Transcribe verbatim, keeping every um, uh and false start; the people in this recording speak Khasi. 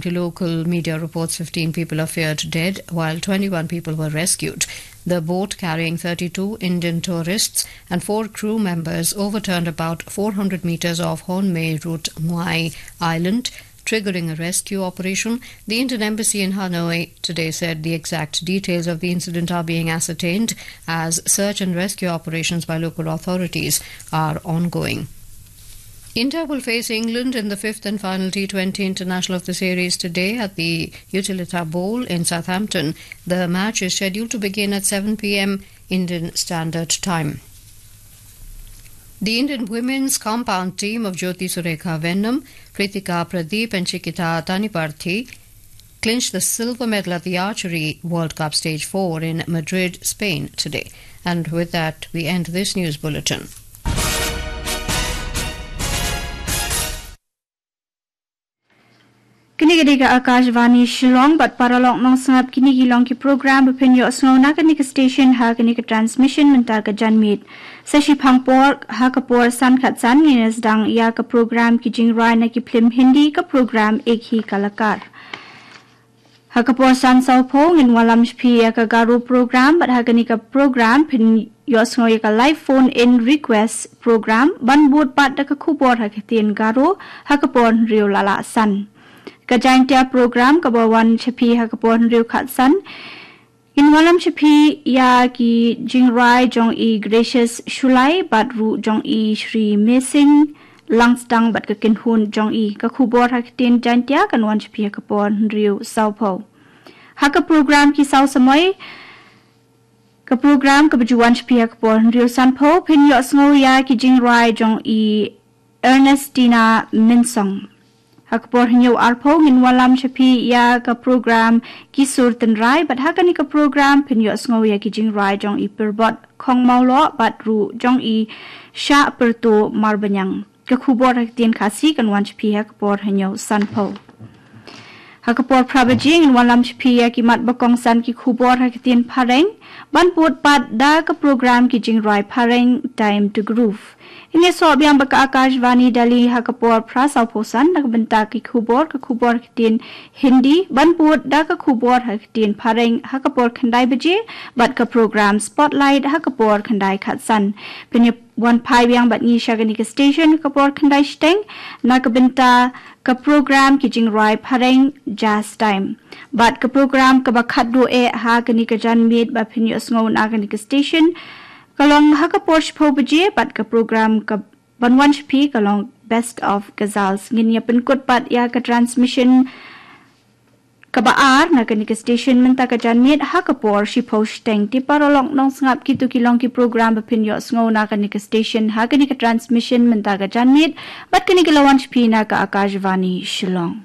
To local media reports, fifteen people are feared dead, while twenty-one people were rescued. The boat carrying thirty-two Indian tourists and four crew members overturned about four hundred meters off Honmei Route Ngwai Island, triggering a rescue operation. The Indian embassy in Hanoi today said the exact details of the incident are being ascertained as search and rescue operations by local authorities are ongoing. India will face England in the fifth and final T twenty international of the series today at the Utilita Bowl in Southampton. The match is scheduled to begin at seven p m Indian Standard Time. The Indian women's compound team of Jyoti Surekha Venom, Kritika Pradeep, and Chikita Taniparthi clinched the silver medal at the Archery World Cup Stage four in Madrid, Spain today. And with that, we end this news bulletin. Kine ki dei ka Akashvani Shillong, bad paralok nongsngap, kine ki long ki program ba phin ïohsngew na kane ka station ha kane ka transmission mynta ka janmiet. Sa shiphang por ha ka por san khatsan ngin ïa sdang ïa ka program ki jingrwai na ki phlim Hindi, ka program Ek Hi Kalakar. Ha ka por san sawphew ngin wallam sha phi ïa ka Garo program, bad ha kane ka program phin ïohsngew ïa ka live phone in request program, ban bud pat da ka khubor ha ka ktien Garo ha ka por hynriew la lah san. Ka Jaintia program kaba wan sha phi ha ka por hynriew khatsan, ngin wallam sha phi ïa ki jingrwai jong i Gracious Shullai bad ruh jong i Shri Mesing Langstang bad ka kynhun jong i. Ka khubor ha ka ktien Jaintia kan wan sha phi ha ka por hynriew sawphew. Ha ka program Ki Saw Samoi, ka program kaba ju wan sha phi ha ka por hynriew sanphew, phin ïohsngew ïa ki jingrwai jong i Ernestina Minsong. Ha ka por hynñiew arphew ngin wallam sha phi ïa ka program Ki Sur Tynrai, bad ha kane ka program phin ïohsngew ïa ki jingrwai jong i Pyrbot Khongmawloh bad ruh jong i Shah Pyrto Marbaniang. Ka khubor ha ka ktien Khasi kan wan sha phi ha ka por hynñiew sanphew. Ha ka por phra baje ngin wallam sha phi ïa ki mat ba kongsan ki khubor ha ka ktien Phareng, ban bud pat da ka program ki jingrwai Phareng Time to Groove. Ngin ïasoh biang bad ka Akashvani Delhi ha ka por phra sawphew san na ka bynta ki khubor, ka khubor ha ka ktien Hindi, ban bud da ka khubor ha ka ktien Phareng ha ka por khyndai baje, bad ka program Spotlight ha ka por khyndai khatsan. Phin ïa wan phai biang bad ngi sha kane ka station ka por khyndai shiteng na ka bynta ka program ki jingrwai Phareng Jazz Time. Bad ka program kaba khatduh eh ha kane ka janmiet ba phin ïohsngew na kane ka station ka long ha ka por shiphew baje, bad ka program kaban wan sha phi ka long Best of Ghazals. Ngin ïa pynkut pat ïa ka transmission kaba ar na kane ka station mynta ka janmiet ha ka por shiphew shiteng. Te paralok nongsngap, kito ki long ki program ba phin ïohsngew na kane ka station ha kane ka transmission mynta ka janmiet, bad kane ka la wan sha phi na ka Akashvani Shillong.